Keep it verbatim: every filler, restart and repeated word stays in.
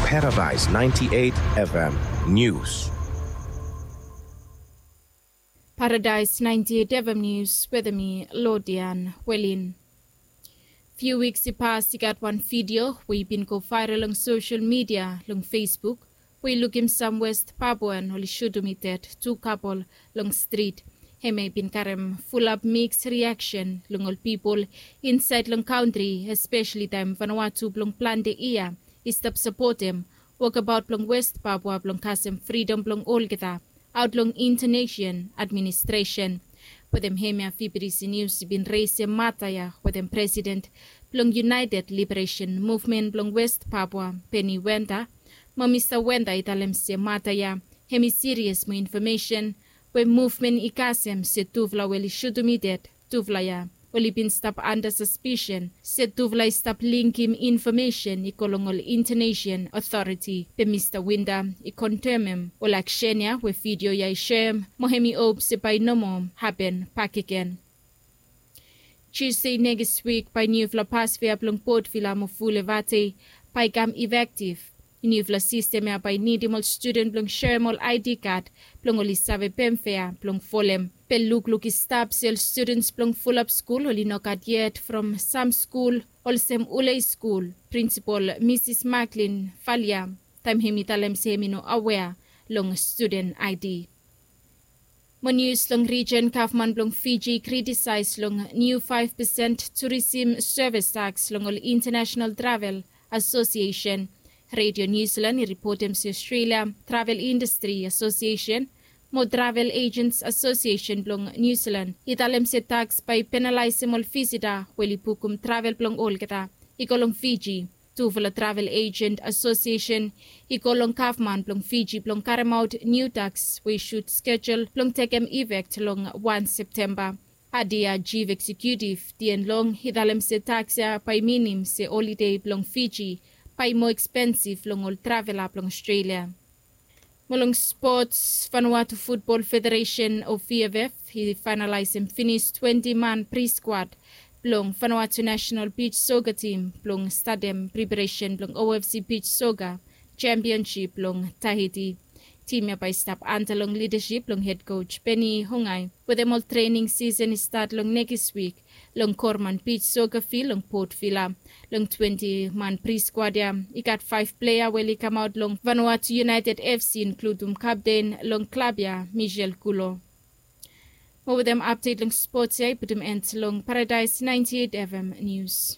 Paradise ninety-eight F M News. Paradise ninety-eight F M News wetem mi, Lodian Welin. Fiu wiks i pas i gat wan vidio we i bin go vaeral long sosel midia long Facebook, we i lukim sam West Papuan oli sutum i ded tu kapol long strit. Hemia i bin karem fulap miks riaksen long ol pipol insaed long kantri, espeseli taem Vanuatu blong plante yia i stap sapotem wokabaot blong West Papua blong kasem fridom blong olgeta aot long Intanesian administresen. Wetem hemia, V B T C Nius i bin resem mata ya wetem presiden blong United Liberation Movement blong West Papua, Benny Wenda. Mo Mista Wenda i talem se mata ya hem i sirias mo infomesen we muvmen i kasem se tufala we oli sutum i ded tufala ya oli bin stap anda saspisen se tufala i stap lingim infomesen i go long ol Intanesian otoriti. Be Mista Wenda i kondenem ol aksen ya we vidio ya i soem, mo hem i hop se bae i no moa hapen bakegen. Tusde nekis wik bae niufala pasfea blong Port Vila mo Fulevatey bae i kam efektif. Niufala sistem ya bae i nidim ol studen blong soem ol I D kad blong oli save pem fea blong folem. Be lukluk i stap se ol studens blong fulap skul oli no gat yet from sam skul olsem Ulei skul. Prinsipol Misis Maklin Falia taem hem i talem se hem i no awea long studen I D. Mo nius long rijen, gavman blong Fiji i kritisaes long niu faef pesen turisim sevis taks long ol Intanesenal Travel Asosiesen. Redio Niu Silan i ripotem se Australia Travel Industry Asosiesen mo Travel Agents Asosiesen blong Niu Silan i talem se taks bae i penalaesem ol visita we oli bukum travel blong olgeta i go long Fiji. Tufala Travel Agent Asosiesen i go long gavman blong Fiji blong karemaot niu taks we i sud skejul blong tekem ifek long wan Septemba. Adia jif eksekiutif Dien Long i talem se taks ya bae i minim se olide blong Fiji bae i moa ekspensif long ol travela blong Australia. Mo long spots, Vanuatu Futbol Federesen o V F F i faenalaesem finis twenti man priskwad blong Vanuatu Nasenal Bij Soka Tim blong statem preparesen blong O F C Bij Soka Sempionsip long Tahiti. Tim ya bae i stap anda long lidasip blong hed koj Benny Hongai wetem ol trening sisen i stat long nekis wik. Long Korman Bij Soka Fil long Port Vila. Long twenti man priskwad ya i gat faef plea we oli kamaot long Vanuatu United F C, inkludum kapten long klab ya, Michel Kulo. Mo wetem apdet long spots ya i putum en long Paradise ninety-eight F M Nius.